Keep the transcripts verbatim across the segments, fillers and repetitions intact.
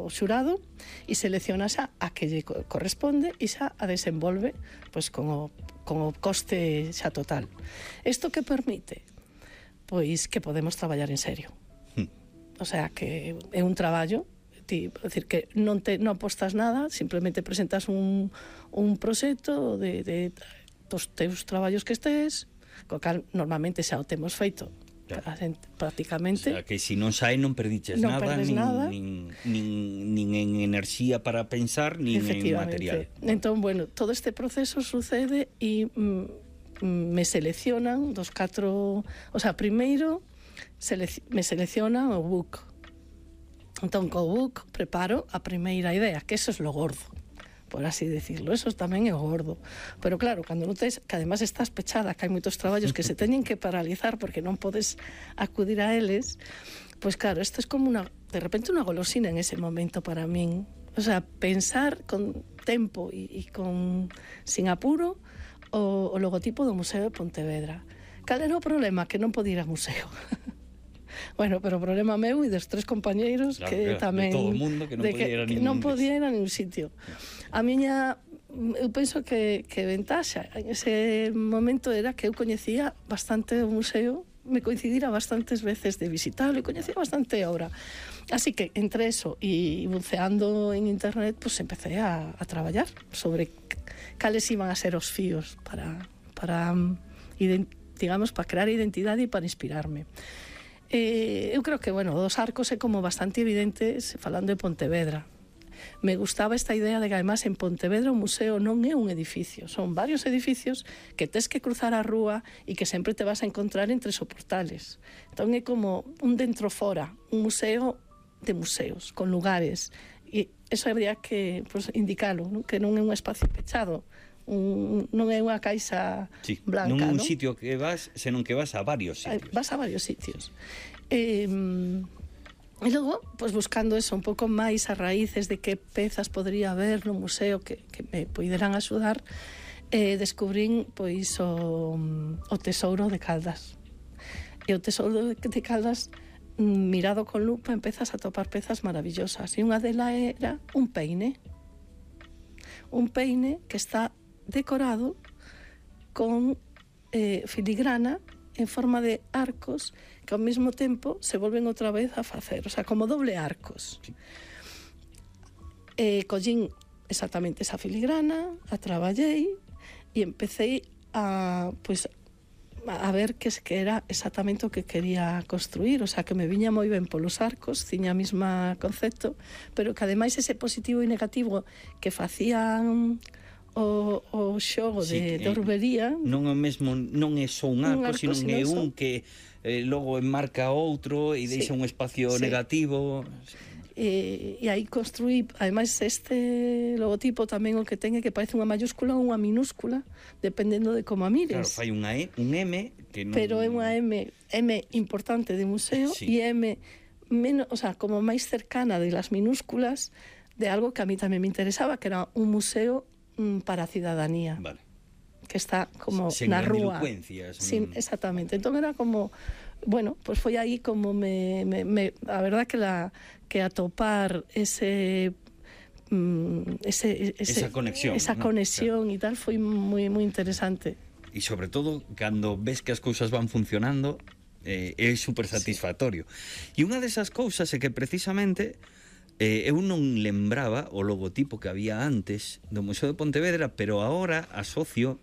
o xurado e selecciona xa a que lle corresponde e xa a desenvolve pois con o, con o coste xa total. Isto que permite? Pois que podemos traballar en serio. Hmm. O sea, que é un traballo, ti, é dicir, que non, te, non apostas nada, simplemente presentas un, un proxecto de, de dos teus traballos que estés, co cal normalmente xa o temos feito. Claro. Prácticamente. O sea, que se si non sae non perdiches non nada, nin, nada. Nin, nin, nin en enerxía para pensar, nin en material. Entón, bueno, todo este proceso sucede e mm, me seleccionan dos catro... O sea, primeiro selec me seleccionan o book. Entón, co book preparo a primeira idea, que eso es lo gordo, por así decirlo, eso tamén é o gordo. Pero claro, cando notes que además estás pechada, que hai moitos traballos que se teñen que paralizar porque non podes acudir a eles, pois claro, isto é como una, de repente unha golosina en ese momento para min. O sea, pensar con tempo e, e con sin apuro o, o logotipo do Museo de Pontevedra. Cal era o problema? Que non podía ir ao museo. Bueno, pero o problema meu e dos tres compañeiros, claro, que claro, tamén de todo o mundo que non podía ir a ningún, non podía ir a ningún sitio. A miña, eu penso que, que ventaxa en ese momento era que eu coñecía bastante o museo, me coincidira bastantes veces de visitarlo e coñecía bastante a obra. Así que entre eso e buceando en internet, pues empecé a, a traballar sobre cales iban a ser os fíos para, para digamos, para crear identidade e para inspirarme. Eh, eu creo que, bueno, dos arcos é como bastante evidente falando de Pontevedra. Me gustaba esta idea de que además en Pontevedra o museo non é un edificio, son varios edificios que tes que cruzar a rúa e que sempre te vas a encontrar entre soportales. Entón é como un dentro fora, un museo de museos, con lugares, e eso habría que pues, indicalo, ¿no? Que non é un espacio pechado, un, non é unha caixa sí, blanca, non é un ¿no? sitio que vas, senón que vas a varios sitios. Vas a varios sitios. Eh, e logo, pues, buscando eso un pouco máis a raíces de que pezas podría haber no museo que, que me poderán axudar, eh, descubrín pois o, o tesouro de Caldas. E o tesouro de, de Caldas, mirado con lupa, empezas a topar pezas maravillosas. E unha delas era un peine. Un peine que está decorado con eh, filigrana en forma de arcos que ao mesmo tempo se volven outra vez a facer, o sea, como doble arcos. Sí. Eh, collín exactamente esa filigrana, a traballei e empecé a, pues, a ver que, que era exactamente o que quería construir, o sea, que me viña moi ben polos arcos, tiña a mesma concepto, pero que ademais ese positivo e negativo que facían o, o xogo sí, de, de orbería, non é mesmo, non é só un arco, arco sino é un que eh, logo enmarca outro e deixa sí, un espacio sí, negativo. E, e aí construí, ademais, este logotipo tamén o que ten é que parece unha mayúscula ou unha minúscula, dependendo de como a mires. Claro, fai unha E, un M que non... Pero é unha M, M importante de museo, sí, e M menos, o sea, como máis cercana de las minúsculas de algo que a mí tamén me interesaba, que era un museo para a cidadanía. Vale. Que está como sen na rúa. Sin, exactamente. Entón era como, bueno, pues foi aí como me, me, me a verdad que la que atopar ese mm, ese, ese esa conexión, esa ¿no? conexión e claro, tal foi moi moi interesante. E sobre todo cando ves que as cousas van funcionando, eh, é super satisfactorio. Sí. E unha desas cousas é que precisamente Eh, eu non lembraba o logotipo que había antes do Museo de Pontevedra, pero agora asocio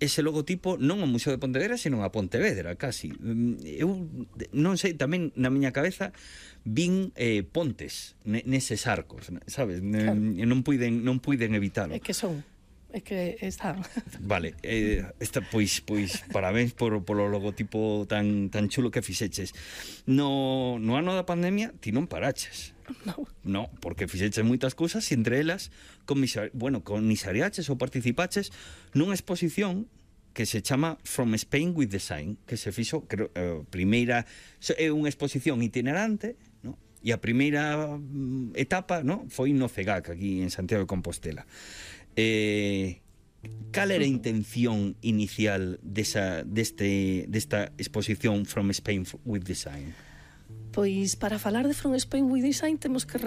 ese logotipo non ao Museo de Pontevedra, senón a Pontevedra, casi. Eu non sei, tamén na miña cabeza vin eh, pontes neses arcos, sabes? Claro. Non puiden, non puiden evitalo. É que son é que están. Vale, eh, esta, pois, pois parabéns por, polo logotipo tan, tan chulo que fixeches. No, no ano da pandemia ti non paraches. No. No, porque fixeches moitas cousas e entre elas comisar, bueno, comisariaches ou participaches nunha exposición que se chama From Spain with Design, que se fixo, creo, eh, primeira é unha exposición itinerante, no? E a primeira mm, etapa, no, foi no CEGAC aquí en Santiago de Compostela. Eh, cal era a intención inicial desa, deste, desta exposición From Spain with Design? Pois para falar de From Spain with Design temos que